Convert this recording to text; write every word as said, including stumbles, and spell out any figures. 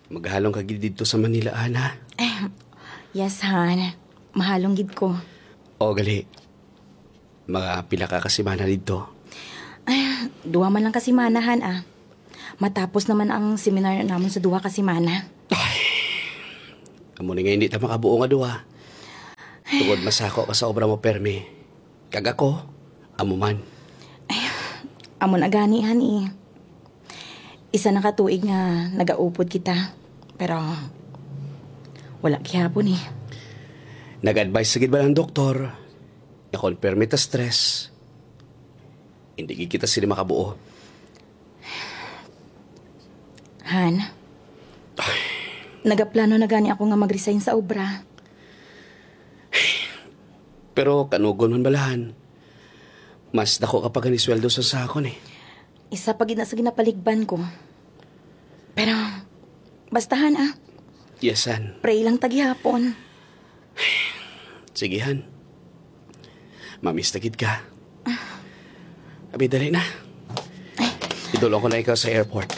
Maghalong ka gid didto sa Manila, Han, ha? Yes, Han. Mahalong gid ko. O, gali. Mga pila ka ka semana didto? Ay, duha man lang ka semana, Han, ah. Matapos naman ang seminar namon sa duha ka semana. Amo ni nga hindi ta makabuo nga duha. Tungod masako ka sa obra mo permi. Kag ako, amo man. Amo na gani, Han, eh. Isa na ka tuig nga nagaupod kita. Pero wala gihapon, eh. Nag-advise sa gid ba ang doktor nga kon permi ta stress, hindi gid kita sila makabuo. Han, nagaplano na gani ako nga mag-resign sa obra. Pero kanugon man bala, Han. Mas dako ka pa gani sweldo sa sa akon, eh. Isa pa gid na sa ginapaligban ko. Pero, basta, Han, ah. Yes, Han. Pray lang ta gihapon. Sige, Han. Mamista gid ka. Abi, dali na. Idulong ko na ikaw sa airport.